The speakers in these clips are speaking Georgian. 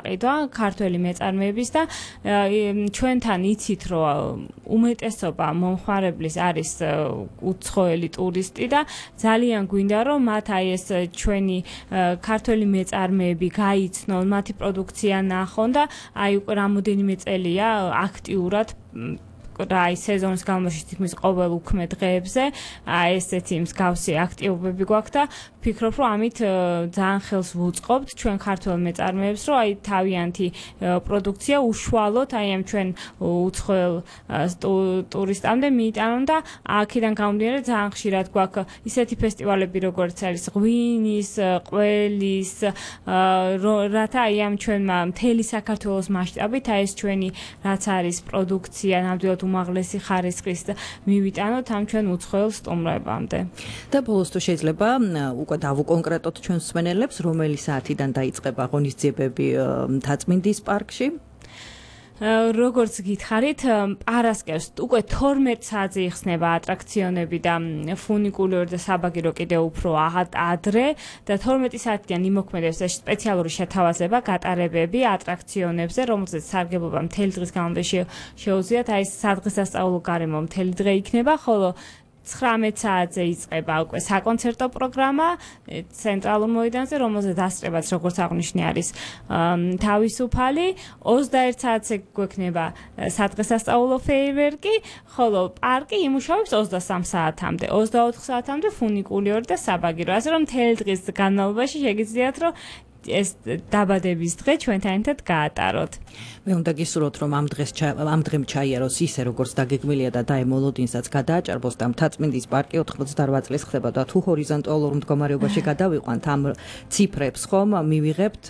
გაყიდვა ქართველი მეწარმეების და ჩვენთან იცით, რომ უმეტესობა მომხმარებლის არის უცხოელი ტურისტი და ძალიან გვინდა, რომ მათ აი ეს ჩვენი ქართველი მეწარმეები გაიცნონ, მათი პროდუქცია ნახონ და აი უკვე რამოდენიმე წელია აქტიურად აი სეზონის გამოში თითქმის ყოველ უქმე დღეებზე აი ესეთი მსგავსი აქტივობები გვაქვს და ვფიქრობ, რომ ამით ძალიან ხელს ვუწყობთ ჩვენ ქართველ მეწარმეებს, რომ აი თავიანთი პროდუქცია უშუალოდ აი ამ ჩვენ უცხოელ ტურისტამდე მიიტანონ და აქედან გამომდინარე ძალიან ხშირად გვაქვს ისეთი ფესტივალები, როგორც არის ღვინის, ყველის, რათა აი ამ ჩვენმა მთელი საქართველოს მასშტაბით აი ეს ჩვენი რაც არის პროდუქცია ნამდვილად უმაღლესი ხარისხის მივიტანოთ ამ ჩვენ უცხოელ სტუმრებამდე. და ბოლოს თუ შეიძლება უკვე დავუკონკრეტოთ ჩვენს მსმენელებს, რომელი საათიდან დაიწყება ღონისძიებები მთაწმინდის პარკში? როგორც გითხარით, პარასკევს უკვე 12 საათზე იხსნება ატრაქციონები და ფუნიკულური და საბაგირო კიდევ უფრო ადრე და 12 საათიდან იმოქმედებს სპეციალური შეთავაზება გატარებები ატრაქციონებზე, რომელზეც სარგებლობა მთელი დღის განმავლობაში შეუძლიათ. აი სადღესასწაულო გარემო მთელი დღე იქნება, ხოლო 19 საათზე იწყება უკვე საკონცერტო პროგრამა ცენტრალურ მოედანზე, რომელზე დასწრებაც როგორც აღნიშნე არის თავისუფალი. 21 საათზე გვექნება სადღესასწაულო ფეიერვერკი, ხოლო პარკი იმუშავებს 23 საათამდე, 24 საათამდე ფუნიკულიური და საბაგირო. ასე რომ მთელი დღის განმავლობაში შეგიძლიათ, რომ ეს დაბადების დღე ჩვენთან ერთად გაატაროთ. მე უნდა გისურვოთ, რომ ამ დღემ ჩაიაროს ისე, როგორც დაგეგმილია და დაემოლოდინსაც გადააჭარბოს და მთაწმინდის პარკი 88 წლის ხდება და თუ ჰორიზონტალურ მდგომარეობაში გადავიყვანთ ამ ციფრებს, ხომ მივიღებთ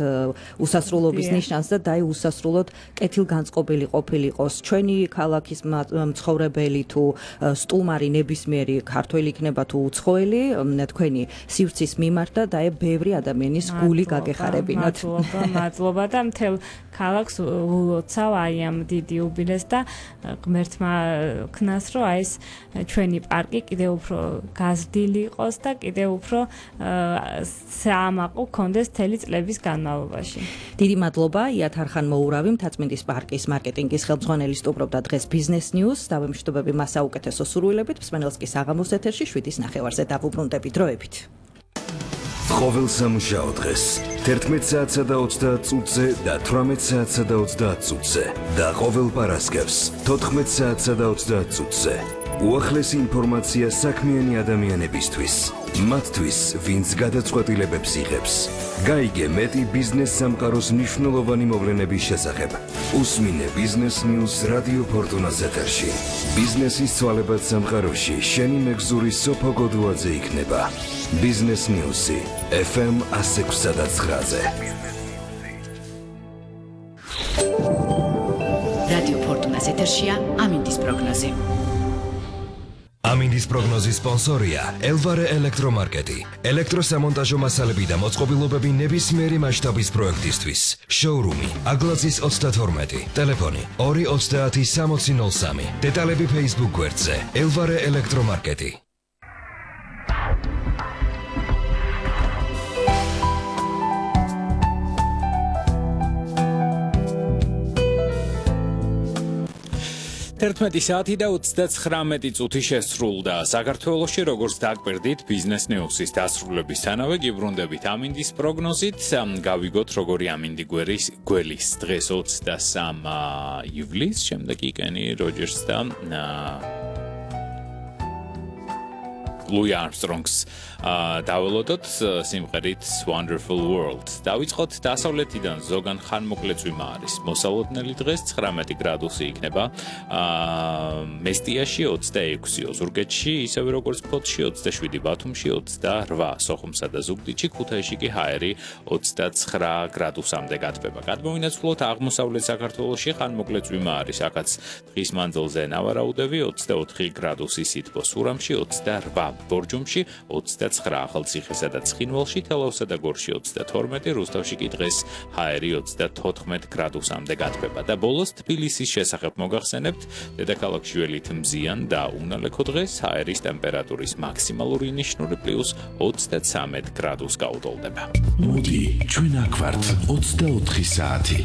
უსასრულობის ნიშანს და დაი უსასრულოდ კეთილგანწყობილი ყოფილიყოს ჩვენი ქალაქის მცხოვრებელი თუ სტუმარი ნებისმიერი ქართველი იქნება თუ უცხოელი, თქვენი სივრცის მიმართ და დაე ბევრი ადამიანის გული გაგეხარებინოთ. მადლობა და მთელ ქალაქს ულოცავ აი ამ დიდი იუბილეს და ღმერთმა ქნას, რომ აი ეს ჩვენი პარკი კიდევ უფრო გაზრდილი იყოს და კიდევ უფრო საამაყო გქონდეს მთელი წლების განმავლობაში. დიდი მადლობა იათ არხან-მოურავი, მთაწმინდის პარკის მარკეტინგის ხელმძღვანელი სტუმრობდა დღეს Business News. დავემშვიდობები მას საუკეთესო სურვილებით. მსმენელს კი საღამოს ეთერში 7:09-ზე დავუბრუნდებით დროებით. ყოველ სამუშაო დღეს 11 საათსა და 30 წუთზე და 18 საათსა და 30 წუთზე და ყოველ პარასკევს 14 საათსა და 30 წუთზე უახლესი ინფორმაცია საქმიანი ადამიანებისთვის, მათთვის, ვინც გადაწყვეტილებებს იღებს. გაიგე მეტი ბიზნეს სამყაროს მნიშვნელოვანი მოვლენების შესახებ. უსმინე Business News რადიო ფორტუნას ეთერში. ბიზნესის ცვალებად სამყაროში შენი მეგზური სოფო გოდუაძე იქნება. Business News-ი FM 106.9-ზე. რადიო ფორტუნას ეთერშია ამინდის პროგნოზი. ამინდის პროგნოზის სპონსორია ელვარე ელექტრომარკეტი. ელექტროსამონტაჟო მასალები და მოწყობილობები ნებისმიერი მასშტაბის პროექტისთვის. შოურუმი აგლაძის 32, ტელეფონი 230-6003. დეტალები Facebook გვერდზე ელვარე ელექტრომარკეტი. Ერთმეტი საათი და 39 წუთი შესრულდა. საქართველოში როგორც დაგვერდით Business News-ის დასრულებისთანავე გიბრუნდებით ამინდის პროგნოზით. გავიგოთ როგორი ამინდი გველის დღეს 23 ივლისს, შემდეგ კენი როჯერსს და Louis Armstrong's დაველოდოთ სიმღერით Wonderful World. დავიწყოთ დასავლეთიდან ზოგან ხანმოკლეწვიმა არის. მოსალოდნელი დღეს 19 გრადუსი იქნება. მესტიაში 26, ოზურგეთში, ისევე როგორც ფოთში 27, ბათუმში 28, სოხუმსა და ზუგდიდში, ქუთაისში კი ჰაერი 29 გრადუსამდე გათბება. გადმოვინაცვლოთ აღმოსავლეთ საქართველოში ხანმოკლეწვიმა არის. აქაც დღის მანძილზე ნავარაუდები 24 გრადუსი სითბო, სურამში 28, ბორჯომში 29, ახალციხესა და ცხინვალში, თელავსა და გორში 32, რუსთავში კი დღეს ჰაერი 34 გრადუსამდე გათბება. და ბოლოს თბილისის შესახებ მოგახსენებთ, დედაქალაქში ველით მზიან და უნალექო დღეს ჰაერის ტემპერატურის მაქსიმალური ნიშნური +23 გრადუსს გაუტოლდება. მოდი, ჩვენ აქვართ 24 საათი.